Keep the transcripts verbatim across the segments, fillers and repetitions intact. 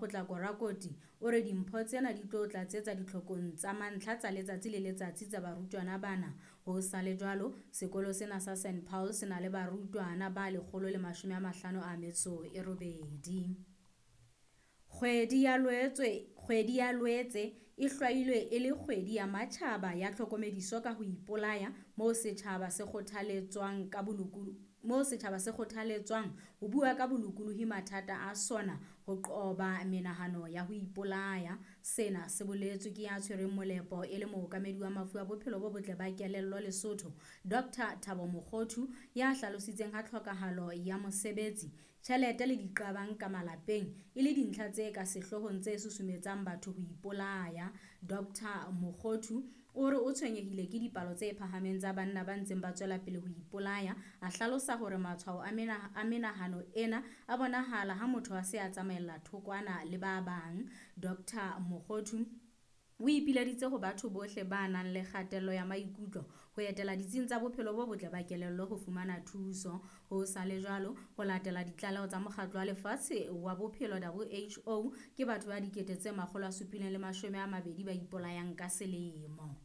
Potlako Rakoti o re dimpho tsena di tlo tlatsetsa ditlhokong tsa mantlha tsa letsatsi le letsatsi tsa barutwana bana. Ho sa le jwalo, sekolo sena sa Saint Paul se na le barutwana ba lekgolo le mashome a mahlano a metso e robedi. Kgwedi ya Loetse, kgwedi ya Loetse e hlwailwe e le kgwedi ya matjhaba ya tlhokomediso ka ho ipolaya moo setjhaba se kgothaletswang ka bolokolohi moo setjhaba se kgothaletswang ho bua ka bolokolohi mathata a sona ho qoba menahano ya ho ipolaya. Sena se boletswe ke ya tshwereng molepo e le mookamedi wa mafu a bophelo bo botle ba kelello Lesotho, Doctor Thabo Mokgothu, ya hlalositseng ha tlhokahalo ya mosebetsi, tjhelete le diqabang ka malapeng e le dintlha tse ka sehloohong tse susumetsang batho ho ipolaya. Doctor Mokgothu o re o tshwenyehile ke dipalo tse phahameng tsa banna ba ntseng ba tswela pele ho ipolaya. A hlalosa hore matshwao a mena-, a menahano ena a bonahala ha motho a se a tsamaella thokwana le ba bang. Doctor Mokgothu o ipileditse ho batho bohle ba nang le kgatello ya maikutlo ho etela ditsing tsa bophelo bo botle ba kelello ho fumana thuso. Ho sa le jwalo, ho latela ditlaleho tsa Mokgatlo wa Lefatshe wa Bophelo W H O, ke batho ba dikete tse makgolo a supileng le mashome a mabedi ba ipolayang ka selemo.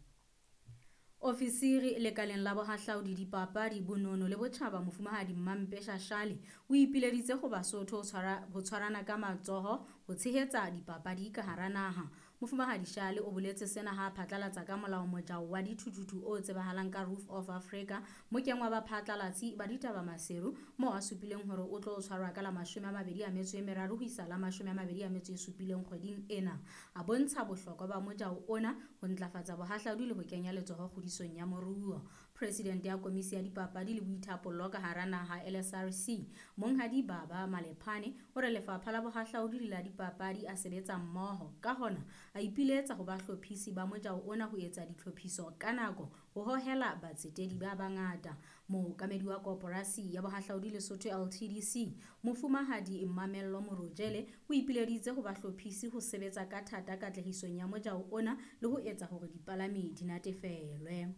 Ofisiri lekaleng la bohahlaudi, dipapadi, bonono le botjhaba Mofumahadi Mampe Shashale o ipileditse ho Basotho ho tshwara, ho tshwarana ka matsoho ho tshehetsa dipapadi ka hara naha. Mofumahadi Shale o boletse sena ha a phatlalatsa ka molao mojao wa dithuthuthu o tsebahalang ka Roof of Africa mokeng wa baphatlalatsi ba ditaba Maseru, moo a supileng hore o tlo tshwarwa ka la mashome a mabedi a metso e meraro ho isa la mashome a mabedi a metso e supileng kgweding ena. A bontsha bohlokwa ba mojao ona ho ntlafatsa bohahlaudi le ho kenya letsoho kgodisong ya moruo. President ya Komisi ya Dipapadi le Boithapollo ka hara naha L S R C, Monghadi Baba Malephane, o re lefapha la bohahlaudi le la dipapadi a sebetsa mmoho. Ka hona, a ipiletsa ho bahlophisi ba mojao ona ho etsa ditlhophiso ka nako ho hohela batsetedi ba bangata. Mookamedi wa Koporasi ya Bohahlaudi Lesotho L T D C, Mofumahadi Mamello Morojele, o ipileditse ho bahlophisi ho sebetsa ka thata katlehisong ya mojao ona le ho etsa hore dipalami di natefelwe.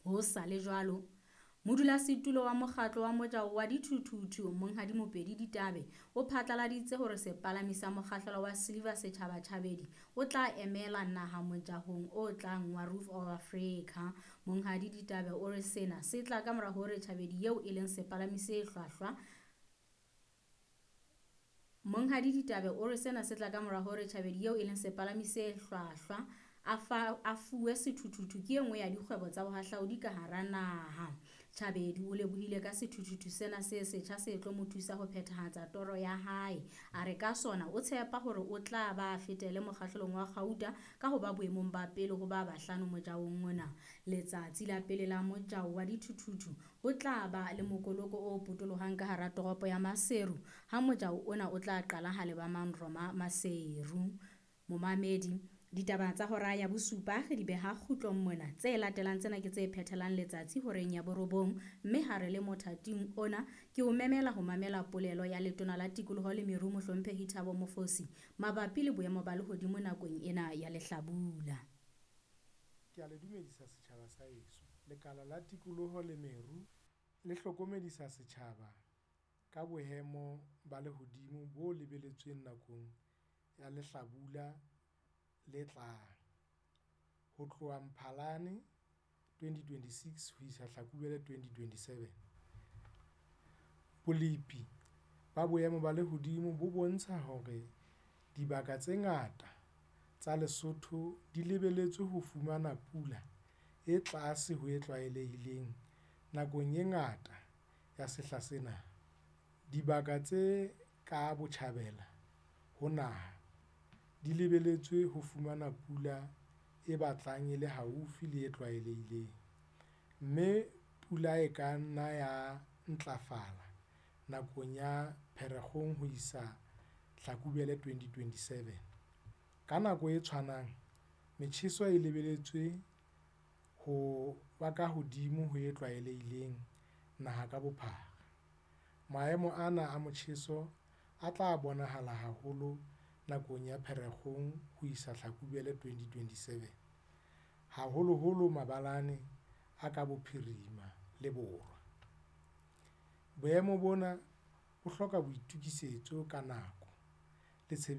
Ho sa le jwalo, modulasetulo wa mokgatlo wa mojao wa dithuthuthu Monghadi Mopedi Ditabe o phatlaladitse hore sepalami sa mokgahlelo wa Silver Setjhaba Tjhabedi o tla emela naha mojahong o tlang wa Roof of Africa. Monghadi Ditabe o re sena se tla ka mora hore Tjhabedi eo e leng sepalami se hlwahlwa Monghadi Ditabe o re sena se tla ka mora hore Tjhabedi eo e leng sepalami se hlwahlwa a fa, a fuwe sethuthuthu ke e nngwe ya dikgwebo tsa bohahlaudi ka hara naha. Tjhabedi o lebohile ka sethuthuthu sena se setjha se tlo mo thusa ho phethahatsa toro ya hae. A re ka sona o tshepa hore o tla ba fetele mokgahlelong wa kgauta ka ho ba boemong ba pele ho ba bahlano mojaong ona. Letsatsi la pele la mojao wa dithuthuthu ho tla ba le mokoloko o potolohang ka hara toropo ya Maseru, ha mojao ona o tla qala ha leba Manroma Maseru. Momamedi, ditaba tsa hora ya bosupa re di beha kgutlong mona. Tse latelang tsena ke tse phethelang letsatsi horeng ya borobong, mme ha re le mothating ona ke o memela ho mamela polelo ya letona la tikoloho le meru Mohlomphehi Thabo Mofosi mabapi le boemo ba lehodimo nakong ena ya lehlabula. Ke a le dumedisa setjhaba sa heso. Lekala la tikoloho le meru le hlokomedisa setjhaba ka boemo ba lehodimo bo lebeletsweng nakong ya lehlabula le tlang ho tloha Mphalane twenty twenty-six ho isa Hlakubele twenty twenty-seven. Bolepi ba boemo ba lehodimo bo bontsha hore dibaka tse ngata tsa Lesotho di lebeletswe ho fumana pula e tlase ho e tlwaelehileng nakong e ngata ya sehla sena. Dibaka tse ka botjhabela ho naha di lebeletswe ho fumana pula e batlang e le haufi le e tlwaelehileng, mme pula e ka nna ya ntlafala nakong ya Pherekgong ho isa Hlakubele twenty twenty-seven. Ka nako e tshwanang, metjheso e lebeletswe ho ba ka hodimo ho e tlwaelehileng naha ka bophara. Maemo ana a motjheso a tla bonahala haholo nakong ya Pherekgong ho isa Hlakubele twenty twenty-seven, haholoholo mabalane a ka bophirima le borwa. Boemo bona bo hloka boitokisetso ka nako le tshebediso